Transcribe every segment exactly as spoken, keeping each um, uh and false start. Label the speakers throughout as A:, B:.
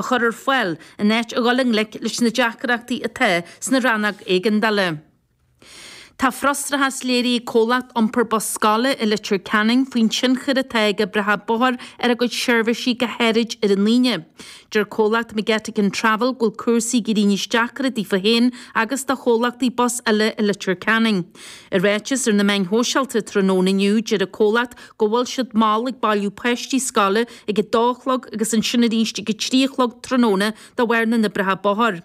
A: a chur ar fáil in áit a dhul i ngleic leis na deacrachtaí atá sna rannóg éigeandála. Tá frustrachas léirithe ag comhlacht iompar bus scoile i Leitir Ceanainn faoin tionchar atá ag oibreacha bóthair ar a gcuid seirbhísí go háirid ar an Aoine. Deir comhlacht McGettigan Travel go bhfuil cúrsaí ag éirí níos deacra daofa féin agus do chomhlachtaí bus eile i Leitir Ceanainn. I ráiteas ar na meáin shóisialta tráthnóna inniu deir an comhlacht go bhfuil siad mall ag bailiú páistí scoile ag a dó a chlog agus ansin arís ag a trí a chlog tráthnóna de bharr na n-oibreacha bóthair.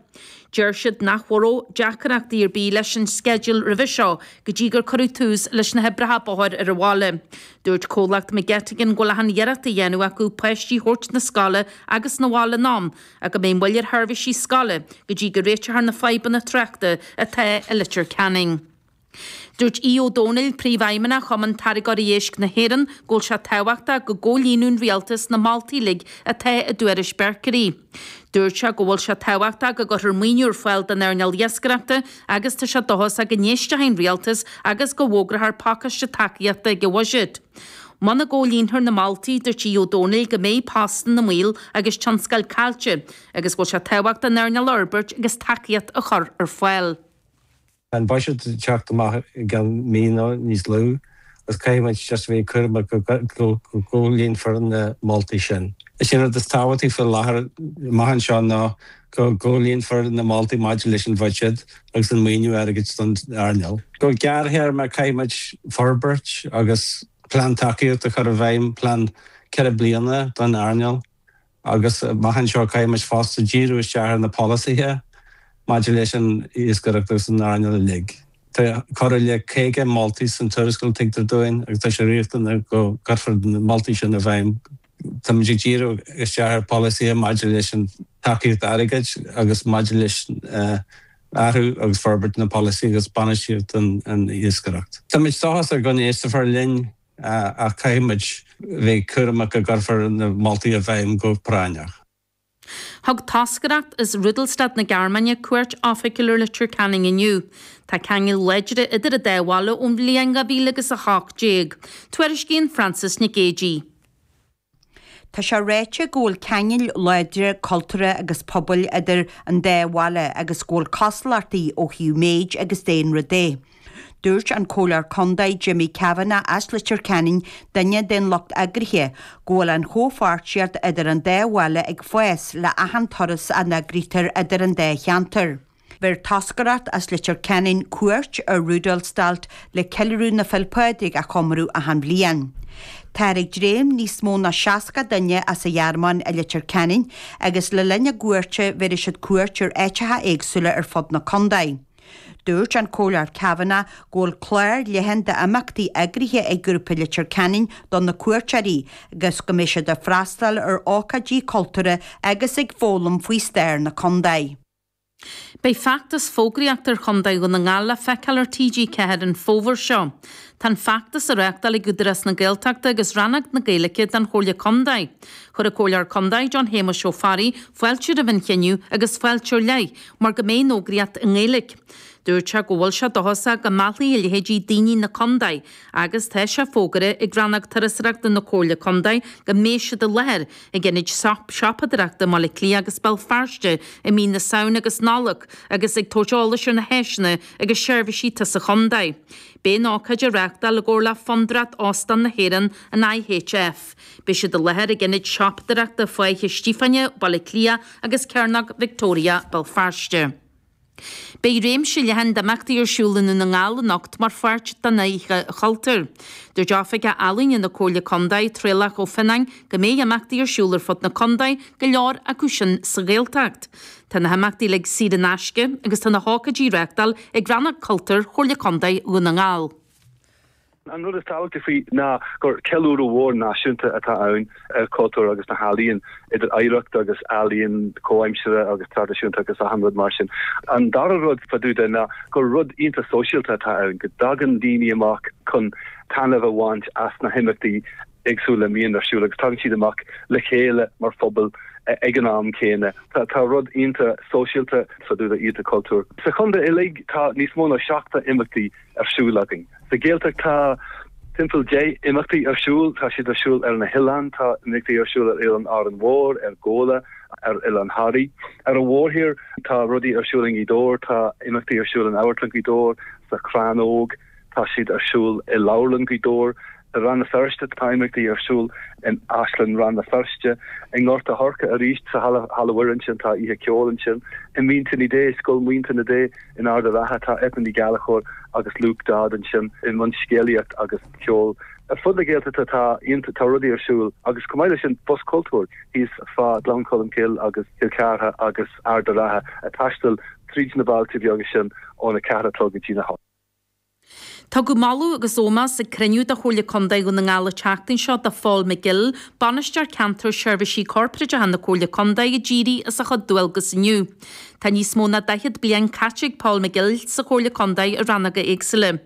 A: Deir siad nach raibh deacrachtaí ar bith leis an sceideal roimhe seo go dtí gur cuireadh tús leis na hoibreacha bóthair ar an bhaile. Dúirt comhlacht McGettigan go bhfuil achan iarracht á dhéanamh acu páistí a thabhairt na scoile agus na bhaile in am ach go mbeidh moill ar sheirbhísí scoile go dtí go réiteofar na fadhbanna tráchta atá i Leitir Ceanainn. Dúirt Aodh Ó Domhnaill, Príomhfheidhmeannach Chumann Táirgeoirí Éisc na hÉireann, go bhfuil sé tábhachtach go gcomhlíonadh an rialtas na moltaí uilig atá i dtuairisc Berkery. Dúirt sé go bhfuil sé tábhachtach go gcuirfear maoiniú ar fáil don earnáil iascaireachta agus tá sé dóchasach go n-éistfidh an rialtas agus go bhfógrófar pacáiste tacaíochta ag an bhuiséad. Muna gcomhlíonfar na moltaí, dúirt Aodh Ó Domhnaill go mbeidh postanna i mbaol agus tionscail caillte agus go bhfuil sé tábhachtach an earnáil a fhorbairt agus tacaíocht a chur ar fáil.
B: Tá an buiséad ag teacht amach i gceann mí nó níos lú agus caithfidh muid just a bheith cúramach go gcomhlíonfar na moltaí sin. Is é an rud is tábhachtaí faoi láthair amach anseo ná go gcomhlíonfar na moltaí maidir leis an bhuiséad agus an maoiniú airgid don earnáil. Go gearrthéarma caithfidh muid forbairt agus plean tacaíochta a chur i bhfeidhm, plean ceithre bliana don earnáil. Agus amach anseo caithfidh muid fosta díriú isteach ar na polasaithe maidir leis an iascaireacht agus an earnáil uilig. Tá corradh le caoga moltaí san tuarascáil tuigtear dúinn agus tá sé riachtanach go gcuirfear na moltaí sin i bhfeidhm. Táimid ag díriú isteach ar pholasaithe maidir leis an tacaíocht airgid agus maidir leis athrú agus forbairt na polasaí agus bainistíocht an iascaireacht. Táimid dóchasach go n-éistfear linn ach caithfidh muid bheith cúramach go gcuirfear na moltaí i bhfeidhm go práinneach.
A: Thug toscaireacht as Rudolstadt na Gearmáine cuairt oifigiúil ar Leitir Ceanainn inniu. Tá ceangail láidre idir an dá bhaile ón bhliain dhá mhíle agus a hocht déag. Tuairiscíonn Frances Nic Géadaigh.
C: Tá sé ráite go bhfuil ceangail láidre cultúrtha agus pobail idir an dá bhaile agus go bhfuil cosúlachtaí ó thaobh méid agus daonra de. Dúirt an Comhairleoir Contae Jimmy Kavanagh as Leitir Ceanainn, duine den lucht eagraithe, go bhfuil an chomhpháirtíocht idir an dá bhaile ag fás le achan turas a n-eagraítear idir an dá cheantar. Bheir toscaireacht as Leitir Ceanainn cuairt ar Rudolstadt le ceiliúradh na Féile Pádraig a chomóradh achan bhliain. Táthar ag dréim níos mó ná seasca duine as an Ghearmáin i Leitir Ceanainn agus le linn a gcuairte bhéarfaidh siad cuairt ar áiteacha éagsúla ar fud na contae. Dúirt an Comhairleoir Kavanagh go bhfuil clár leathan d'imeachtaí eagraithe ag Grúpa Leitir Ceanainn do na cuairteoirí agus go mbeidh siad ag freastal ar ócáidí cultúrtha agus ag foghlaim faoi stair na contae.
A: Beidh feachtas fógraíochta ar Chontae Dhún na nGall le feiceáil ar T G ceathair an fómhar seo. Tá an feachtas á reáchtáil ag Údarás na Gaeltachta agus Rannóg na Gaeilge den Chomhairle Contae. Chuir an Comhairleoir Contae John Shéamuis Ó Fearraigh fáilte roimh an chinneadh agus fáilte ar leith mar go mbeidh an fhógraíocht i nGaeilge. Dúirt sé go bhfuil sé dóchasach go meallfaidh a leithéidí daoine na contae agus tá sé fógartha ag Rannóg Turasóireachta na Comhairle Contae go mbeidh siad i láthair ag ionaid siopadóireachta i mBaile Átha Cliath agus Béal Feirste i mí na Samhna agus Nollag agus ag tabhairt eolais ar na háiseanna agus seirbhísí atá sa chontae. Beidh an ócáid á reáchtáil i gcomhar le Fondúireacht Óstán na hÉireann, an I H F. Beidh siad i láthair ag ionaid siopadóireachta Fáiche Stíofáine, Baile Átha Cliath agus Cearnóg Victoria, Béal Feirste. Beidh réimse leathan d'imeachtaí ar siúl i nDún na nGall anocht mar pháirt den Oíche Chultúir. Dúirt Oifigeach Ealaíne na Comhairle Contae, Traolach Ó Fionnáin, go mbeidh imeachtaí ar siúl ar fud na contae, go leor acu sin sa Ghaeltacht. Tá na himeachtaí uilig saor in aisce agus tá na hócáidí á reáchtáil ag Rannóg Cultúir Chomhairle Contae Dhún na nGall.
D: An rud is tábhachtaí faoi ná gur ceiliúradh mhór náisiúnta atá ann ar chultúr agus na healaíon, idir oidhreacht agus ealaíon comhaimseartha agus traidisiúnta agus achan rud mar sin. An dara rud fá dtaobh de ná gur rud iontach sóisialta atá ann, go dtagann daoine amach chun taitneamh a bhaint as na himeachtaí éagsúla a mbíonn ar siúl agus tagann siad amach le chéile mar phobal ag an am céanna. Tá, tá rud iontach sóisialta fá dtaobh d'Oíche Chultúir. Sa chontae uilig tá níos mó ná seachtó imeachtaí ar siúl againn. Sa Ghaeltacht tá timpeall deich imeachtaí ar siúl, tá siad ar siúl ar na hoileáin, tá imeachtaí ar siúl ar Oileán Árainn Mhór, ar Ghabhla, ar Oileán Thoraí. Ar an mhórthír tá rudaí ar siúl i nGaoth Dobhair, tá imeachtaí ar siúl in Amharclann Ghaoth Dobhair, sa Chrann Óg, tá siad ar siúl i Leabharlann Ghaoth Dobhair, i Rann na Feirste tá imeachtaí ar siúl in Áislann Rann na Feirste, i nGort a' Choirce arís sa Halla Halla Mhuire ansin tá oíche ceoil ansin, i Muintir Dé, Scoil Mhuintir na Dé in Ard an Rátha tá Eithne Ní Ghallchóir agus Luke Dodd ansin i mbun scéalaíocht agus ceol. Ar fud na Gaeltachta tá tá rudaí ar siúl agus chomh maith leis sin Bus Cultúir thíos fá Ghleann Cholm Cille agus Cill Chartha agus Ard an Rátha ag taisteal tríd na bailte beaga sin óna ceathair a chlog go dtí na hocht.
A: Tugadh moladh agus ómós ag cruinniú de Chomhairle Contae Dhún na nGall an tseachtain seo do Phól McGill, Bainisteoir Ceantair Seirbhísí Corparáideacha na Comhairle Contae a d'éirigh as a chuid dualgas inniu. Tá níos mó ná daichead bliain caite ag Paul McGill sa Chomhairle Contae i rannóga éagsúla.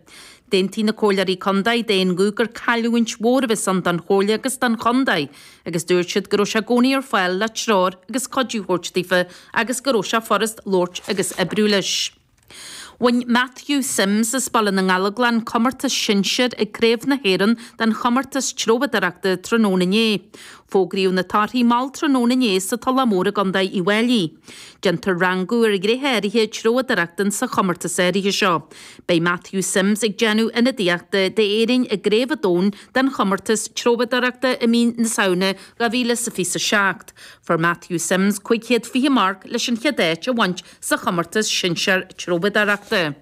A: D'aontaigh na comhairleoirí contae d'aon ghuth gur cailliúint mhór a bheas ann don chomhairle agus don chontae, agus dúirt siad go raibh sé i gcónaí ar fáil le treoir agus cuidiú a thabhairt daofa agus go raibh sé furast labhairt agus oibriú leis. Bhain Matthew Sims as Baile na nGallóglach comórtas sinsir ag Craobh na hÉireann den chomórtas treabhdóireachta tráthnóna inné. Fógraíodh na torthaí mall tráthnóna inné sa Tulach Mhór i gContae Uíbh Fhailí. Déantar rangú ar ghnéithe áirithe treabhdóireachta sa chomórtas áirithe seo. Beidh Matthew Sims ag déanamh ionadaíochta d'Éirinn i gCraobh an Domhain den chomórtas treabhdóireachta i mí na Samhna dhá mhíle is fiche a seacht. Fuair Matthew Sims cúig chéad fiche marc leis an chéad áit a bhaint sa chomórtas sinsear treabhdóireachta.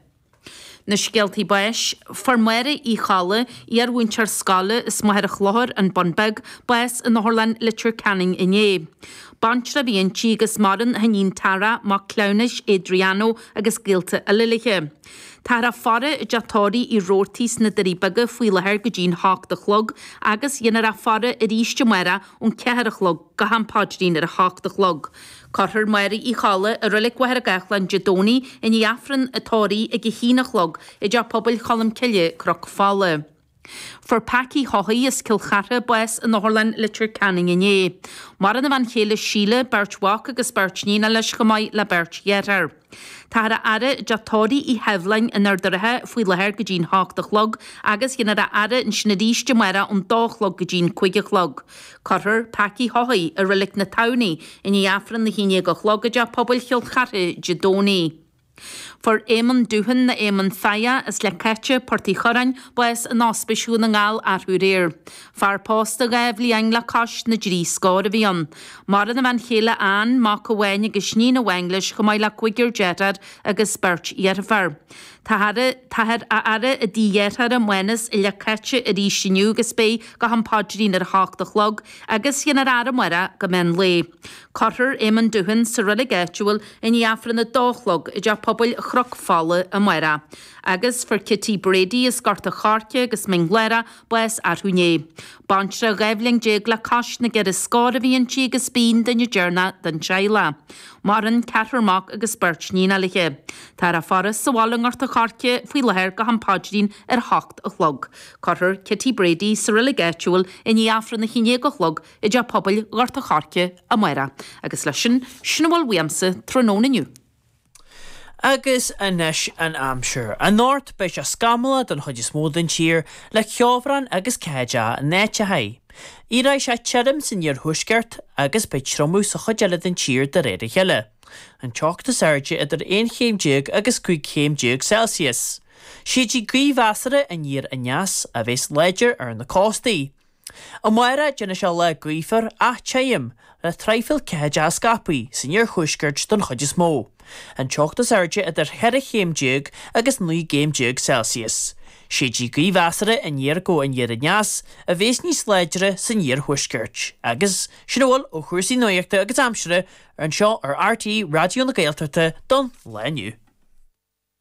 A: Na scéaltaí báis, fuair Máire Uí Cholla, iarmhúinteoir scoile as Machaire Chlochair, an Bun Beag, bás in Otharlann Leitir Ceanainn inné. Baintreach a bhí inti agus maireann a hiníon Tara, mac cleamhnais Adriano agus gaolta eile léi. Táthar á faire i dteach tórraimh Uí Robhartaigh sna Doirí Beaga faoi láthair go dtí'n hocht a chlog agus dhéanfar á faire arís amárach ón ceathair a chlog go ham paidrín ar a hocht a chlog. Cuirfear Máire Uí Cholla i Reilig Mhachaire Gathlán Dé Domhnaigh i ndiaidh Aifreann an tórraimh ag a haon a chlog i dTeach Pobail Cholm Cille, Cnoc Fola. Fuair Packy Haughey as Cill Chartha bás in Otharlann Leitir Ceanainn inné. Maireann a bhean chéile Síle, beirt mhac agus beirt níon leis chomh maith le beirt dheartháir. Táthar á fhaire i dteach tórraimh Uí Sheibhleáin in Ard an Rátha faoi láthair go dtí'n hocht a chlog agus dhéanfar á fhaire ansin arís amárach ón dó a chlog go dtí'n cúig a chlog. Cuirfear Packy Haughey i Reilig na Tamhnaí i ndiaidh Aifreann a haon déag a chlog i dTeach Pobail Chill Chartha Dé Domhnaigh. Fuair Éamonn Dúthan nó Éamonn Faia as Leic Cáite, Port Uí Churráin, bás in Ospís Dhún na nGall arú aréir. Fear pósta dhá bhliain le cois na dtrí scór a bhí ann. Maireann a bhean chéile Ann, mac amháin agus iníon amháin leis chomh maith le cúigear deartháir agus beirt dheirfiúr. Táthar á fhaire i dtigh a dhearthára Mánas i Leic Cáite arís inniu agus beidh go ham paidrín ar a hocht a chlog agus dhéanfar a fhaire amárach go meán lae. Cuirfear Éamonn Dúthan sa reilig áitiúil i ndiaidh Aifreann a dó a chlog i dTeach Pobail Chnoc Fola amárach. Agus fuair Kitty Brady as Gort a' Choirce agus Mín Lárach bás arú inné. Baintreach dhá bhliain déag le cois na gceithre scór a bhí inti agus b'í an duine deireanach den teaghlach. Maireann ceathrar mac agus beirt níon léi. Táthar á faire sa bhaile i nGort a' Choirce faoi láthair go ham paidrín ar hocht a chlog. Cuirfear Kitty Brady sa reilig áitiúil i ndiaidh Aifreann a haon déag a chlog i dTeach Pobail Ghort a' Choirce amárach. Agus leis sin, sin a bhfuil uaimse tráthnóna inniu.
E: Agus anois an aimsir. Anocht beidh sé scamallach don chuid is mó den tír le ceobhrán agus ceathaideacha in áiteacha. Éireoidh sé tirim san iarthuaisceart agus beidh triomú sa chuid eile den tír de réir a chéile. An teocht is airde idir aon chéim déag agus cúig chéim déag Celsius. Séidfidh gaoth mheasartha aniar aneas a bheas láidir ar na cóstaí. Amárach déanfaidh sé lá gaofar ach tirim le traidhfil ceathaideacha scaipthe san iarthuaisceart don chuid is mó. An teocht is airde idir cheithre chéim déag agus naoi gcéim déag Celsius. Séidfidh gaoth mheasartha aniar go aniar aneas a bheas níos láidre san iarthuaisceart. Agus sin a bhfuil ó chúrsaí nuachta agus aimsire anseo ar RTÉ Raidió na Gaeltachta don lá inniu.